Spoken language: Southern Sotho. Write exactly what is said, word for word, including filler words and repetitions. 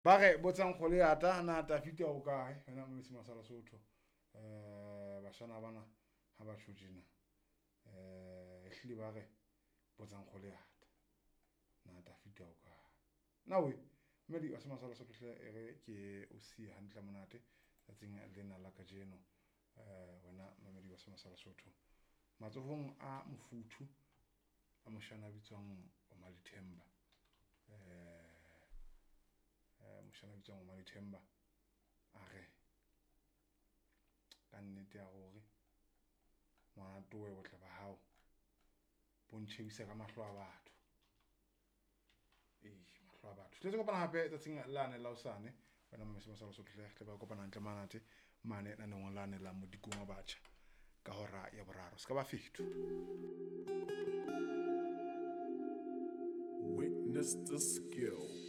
Ba re botsang kgole ya ta na Tafita o kae wena Mmesi Masala Sotho. Eh bashana bana ha ba tjho tjena. Eh ehlile ba re botsang kgole ya ta na Tafita o kae. Na we mmedi wa Masala Sotho hle e re ke o siye hantle monate tsatsing lena la kajeno. Eh wena mmedi wa Masala Sotho matsohong a mofuthu a moshana a bitswang Omali Themba. Eh moshana a bitswang Omali Themba a re ka nnete ya hore ngwana towe botle ba hao bo ntjhebisa ka mahlo a batho. Eh mahlo a batho. Tletse kopana hape tsatsing lane la hosane wena Mmesi Masala Sotho hle tle ba kopana hantle manate mane naneong lane la modikong wa batjha ka hora ya boraro. Se ka ba fetho. Witness the skill.